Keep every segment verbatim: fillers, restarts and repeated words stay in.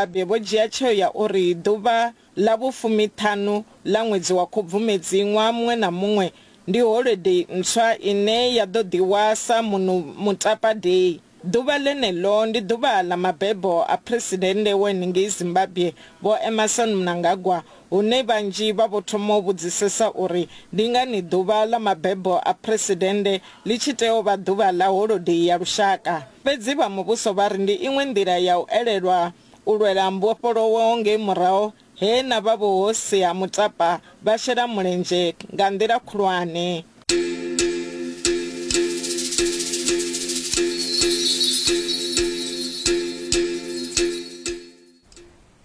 Zimbabwe vho dzhia tsheo ya uri ḓuvha ḽa vhufumiṱhanu ḽa ṅwedzi wa Khubvumedzi ṅwaha muṅwe na muṅwe ndi holodei ntswa ine ya ḓo ḓihwa sa Munhumutapa Day. Ḓuvha ḽeneḽo ndi ḓuvha ḽa mabebo a Phresidennde wa ngei Zimbabwe Vho Emmerson Mnangagwa hune vhanzhi vha vho thoma u vhudzisesa uri ndi ngani ḓuvha ḽa mabebo a Phresidennde ḽi tshi tea u vha ḓuvha ḽa holodei ya lushaka. Fhedzi vha muvhuso vha ri ndi iṅwe nḓila ya u elelwa u lwela mbofholowo ngei murahu he na vha vhuhosi ha Mutapa vha shela mulenzhe nga nḓila khulwane.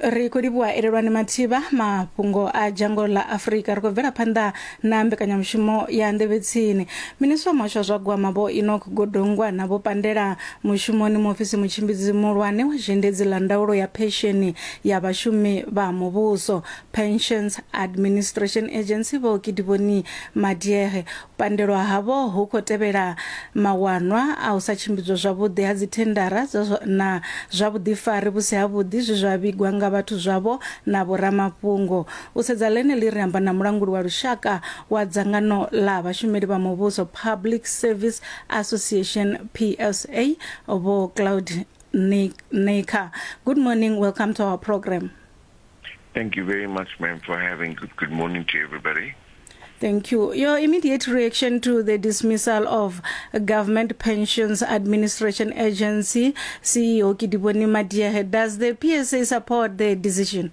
Ri khou livhuwa Elelwani Mathivha mafhungo a dzhango ḽa Afrika. Ri khou bvela phanḓa na mbekanyamushumo ya nḓevhetsini. Minisiṱa wa muhasho wa zwa gwama Vho Enoch Godongwana vho pandela mushumoni muofisi mutshimbidzi muhulwane wa zhendedzi ḽa ndaulo ya phesheni ya vhashumi vha muvhuso Pensions Administration Agency Vho Kedibone Madiege. U pandelwa havho hu khou tevhela mawanwa a u sa tshimbidzwa zwavhuḓi ha dzithendara na zwa vhuḓifari vhu si havhuḓi zwe zwa vhigwa nga vhathu zwavho na vhoramafhungo. U sedza ḽeneḽi ri amba na mulanguli wa lushaka wa dzangano ḽa vhashumeli vha muvhuso Public Service Association P S A Vho Claude Naicker. Good morning, welcome to our program. Thank you very much, ma'am, for having good, good morning to everybody. Thank you. Your immediate reaction to the dismissal of Government Pensions Administration Agency C E O Kedibone Madiege, does the P S A support the decision?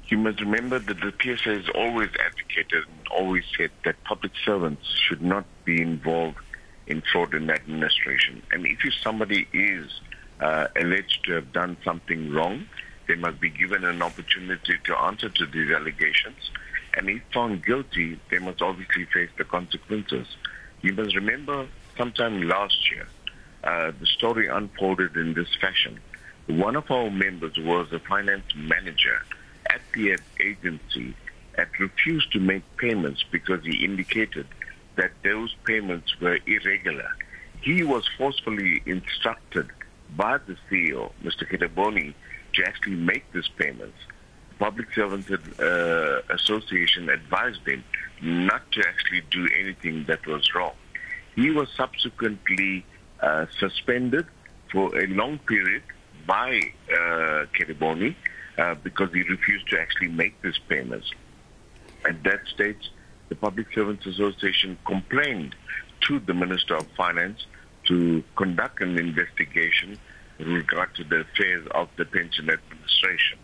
You must remember that the P S A has always advocated and always said that public servants should not be involved in fraud in administration. And if somebody is uh, alleged to have done something wrong, they must be given an opportunity to answer to these allegations. And if found guilty, they must obviously face the consequences. You must remember sometime last year, uh, the story unfolded in this fashion. One of our members was a finance manager at the agency and refused to make payments because he indicated that those payments were irregular. He was forcefully instructed by the C E O, Mister Kedibone, to actually make these payments. Public Servants uh, Association advised him not to actually do anything that was wrong. He was subsequently uh, suspended for a long period by uh, Kedibone uh, because he refused to actually make these payments. At that stage, the Public Servants Association complained to the Minister of Finance to conduct an investigation with regard to the affairs of the pension administration.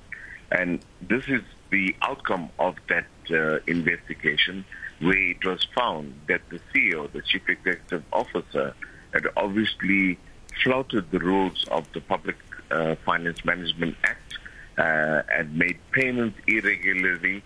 And this is the outcome of that uh, investigation, where it was found that the C E O, the Chief Executive Officer, had obviously flouted the rules of the Public uh, Finance Management Act uh, and made payments irregularly,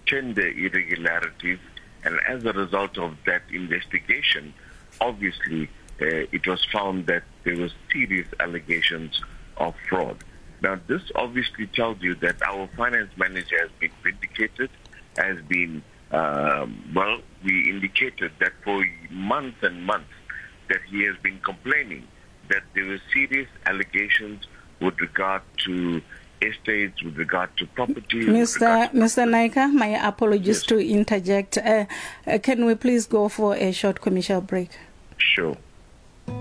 tender irregularities, and as a result of that investigation, obviously, uh, it was found that there were serious allegations of fraud. Now, this obviously tells you that our finance manager has been vindicated, has been, um, well, we indicated that for months and months that he has been complaining that there were serious allegations with regard to estates, with regard to property. Mister Mister Naicker, my apologies, yes, to interject. Uh, uh, can we please go for a short commercial break? Sure.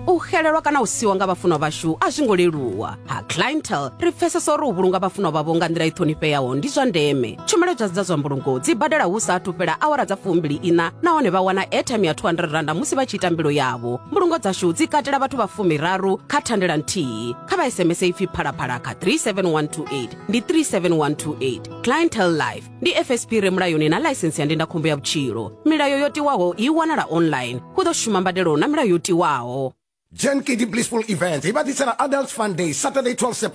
U xelelwa kana u siwa nga vhafunwa vhashu a zwi ngo leluwa. Ha Clientele ri pfesesa uri u vhulunga vhafunwa vhavho nga nḓila i ṱhonifheaho ndi zwa ndeme. Tshumelo dza dza zwa mbulungo dzi badela hu sa athu fhela awara dza fumbili ina nahone vha wana airtime ya two hundred rand musi vha tshi ita mbilo yavho. Mbulungo dzashu dzi katela vhathu vha fumiraru kha thandela nthihi. Kha vha S M S ipfi phalaphala kha three seven one two eight ndi three seven one two eight. Clientele Life ndi F S P re mulayoni na ḽaisensi ya ndindakhombo ya vhutshilo. Milayo yo tiwaho i wanala online. Hu ḓo shuma mbadelo na milayo yo tiwaho. Gen K D Blissful Event. Ibadisera Adult Fun Day, Saturday twelfth September.